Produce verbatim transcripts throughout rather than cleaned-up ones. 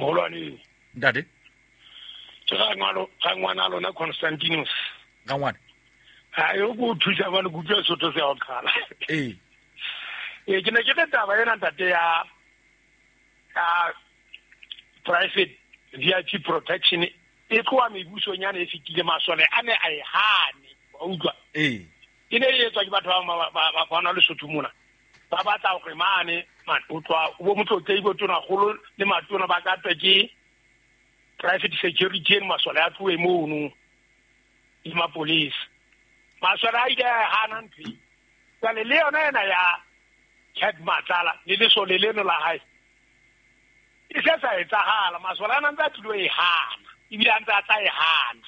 Mogolwane. Ntate. Ke ga ngwana ga ngwana lona Constantinus. Ga ngwana. Ha yo go thusa bana go utlwa Sotho se a qala. Eh. Eh ke ne ke re taba ena ntate ya ya private V I P protection e tloa mebusonyana e fetile masole a ne a e hane wa utlwa. Eh. E ne e etswa ke batho ba ba ba na le Sotho mona. Ba batla hore mane man o tloa bo motlotlei bo tona golo le matona ba ka twe ke private security eno masole a tloe mono le mapolisa. Masole a ile a hana ntho. Jwale le yona ena ya Cat Matlala le lesole leno la hae e se sa etsahala. Masole ana ntse a tlilo e hana ebile a ntse a tla e hana.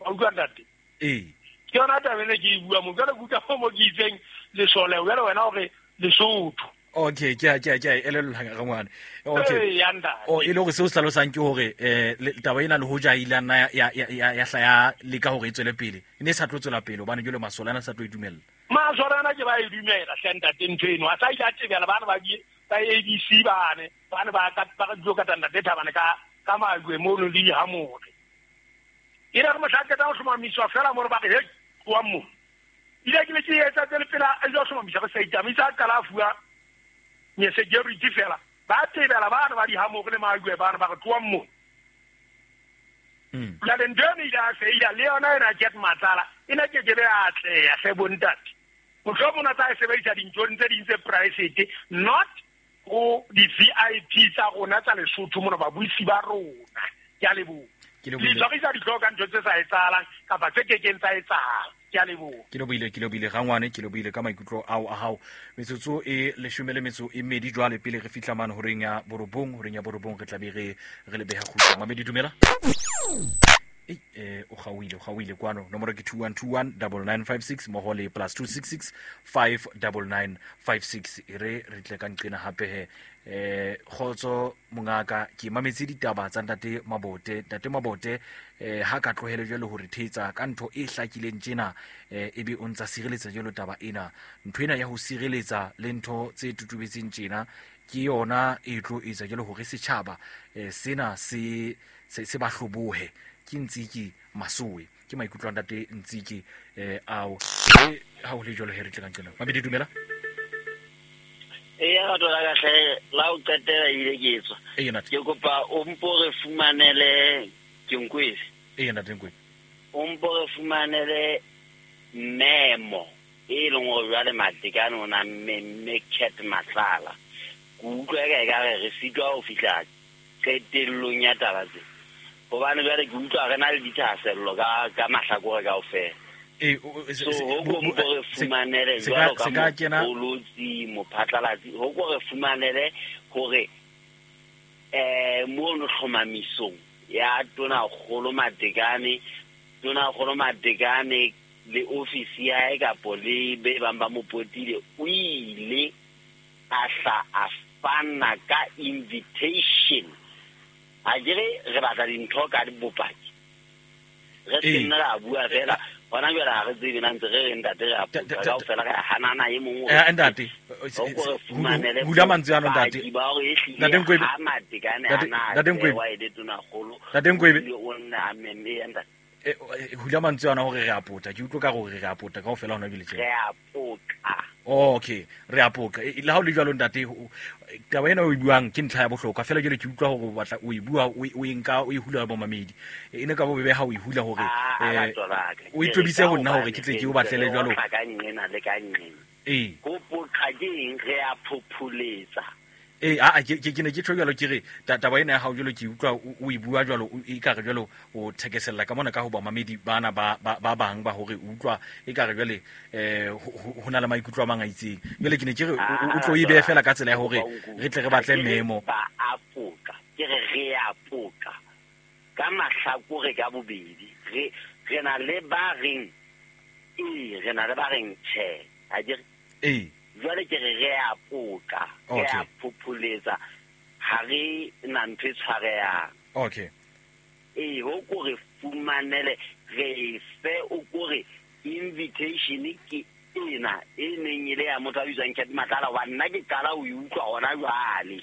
Wa utlwa ntate? Ee. Ke yona taba ene ke e bua mo. Jwale ke utlwa mo ke itseng lesole jwale wena hore Lesotho. Okay, ke a ke a ke a elellwa ga ngwana. Okay. Ee, ntate. O e le hore seo se hlalosang ke hore eh taba ena le hoja ile nna ya ya ya hla ya leka hore e tswele pele. E ne e sa tlo tswela pele hobane jwale masole ana sa tlo e dumella. Masole ana ke ba e dumela hle ntate ntho eno. A sa ile a tebela bana ba ba A B C bane, bane ba ka ba ka ka ntate Thabane ka ka majwe mono le dihamore. E re mohla ke tla ho hlomamiswa fela mo re ba re he tloa mo. Ile ke le ke etsa tsele pela a jo hlomamisa re sa itamisa qala fuwa nye security fela. Ba tebela bana ba dihamore le majwe bana ba re tloa mo. Mm. La ntho ile a feila le yona ena Cat Matlala e ne ke ke be a atleha hle bontate. Mohlomong o tla e sebedisa dinthong tse ding tse private, not go di-V I P tsa rona tsa Lesotho mona babuisi ba rona. Ke a leboha. Ke Le lebohile. tshwarisa dihlooho ka ntho tse sa etsahalang kapa tse kekeng tsa etsahala. Ke a leboha. Ke lebohile, ke lebohile rangwane, ke lebohile ka maikutlo ao a hao. Metsotso e leshome le metso e mmedi jwale pele re fihla mane horeng ya borobong, horeng ya borobong re tla be re re le beha kgutla. Mamedi dumela. Eh eh o kgaohile, o kgaohile kwano. Nomoro ke two one two one double nine five six mmoho le plus two six six five double nine five six. E re re tle ka nqena hape he. Eh kgotso mongaka, ke mametse ditaba tsa ntate Mabote. Ntate Mabote eh ha ka tlohele jwale hore thetsa ka ntho e hlakileng tjena, eh ebe o ntsa sireletsa jwalo taba ena. Ntho ena ya ho sireletsa le ntho tse tutubetseng tjena ke yona e tlo etsa jwalo hore setjhaba eh sena se se se ba hlobohe. Ke Ntsiki Masoe, ke maikutlo a ntate Ntsiki eh ao. E ha ho le jwalo he re tle ka nqena. Mabedi dumela. E ya batho la ka hle la o qetela ile ke etswa. Ee, ntate. Ke kopa o mpo re fumanele ke Nkwebe. Ee, ntate Nkwebe. O mpo re fumanele memo e leng hore jwale Matekane o na mme Cat Matlala. Ke utlwa eka ekare re sitwa ho fihla qetellong ya taba tse. Hobane jwale ke utlwa re na le dithahasello ka ka mahlakore kaofela. Eh, o- o- So, se- ho bo- ko bo- mpo re se- fumanele se ka- jwalo ka se ka kena- moqolotsi, mophatlalatsi, ho ko re fumanele hore, eh, mono hlomamisong ya Tonakgolo Matekane, Tonakgolo Matekane le ofisi ya hae kapo le be bang ba mo potile, o ile a hla a fana ka invitation. A ke re re batla dintho ka bopaki. Re se Ee. nna ra bua fela. Hona jwale ha re tsebe na ntse re re ntate re a Ta- potsa ta- ta- kaofela, re a hanana e mong o Eh, ntate, Ho ko re fumanele hula mantswe ano, ntate. bopaki ba hore ehlile Ntate Nkwebe. ha Matekane Ntate- a na Ntate Nkwebe. tsewa e le Tonakgolo, Ntate Nkwebe. o ile o nna a memme ya ntate. Eh, eh, hula mantswe ana hore re a pota. Ke utlwa ka hore re a pota kaofela hona jwale tjena. Re a pota. Oh, okay, re a poqa. E, le ha o le jwalo ntate, o, taba ena o e buang ke ntlha ya bohlokwa. Feela jwale ke utlwa hore o batla o e bua, o e, o e nka, o e hula bomamedi. E ne ka bobebe ha o e hula hore, Ah, eh, lerato la ka. o e Ke re tobise ka ho nna hore hobane ke tle ke re o batlele ntse re jwalo. otla ka nqena le ka nqena. Ee. Ho poqa ke eng? Re a phopholetsa. Ee, a, a, ke, ke, ke ne ke tjho jwalo, ke re, ta-, taba ena ya hao jwalo ke utlwa o, o e bua jwalo, o, e ka re jwalo o thekesella ka mona ka ho bamamedi bana ba, ba, ba bang ba hore o utlwa e ka re jwale, eh, ho, ho, ho na le maikutlo a mang a itseng. Jwale ke ne ke re, o, o, o tlo e behe fela ka tsela ya hore re tle re batle memo. Ba a poqa, ke re re a poqa ka mahlakore ka bobedi. Re, re na le ba reng ee, re na le ba reng tjhe. Ha ke re? Ee. Jwale ke re re a poqa, re a Okay. phopholetsa, ha re na ntho e tshwarehang. Okay. Ee, ho ko re fumanele, re fe o ko re invitation ke ena e neng e le ya motho a bitswang Cat Matlala, wa nna ke qala ho e utlwa hona jwale.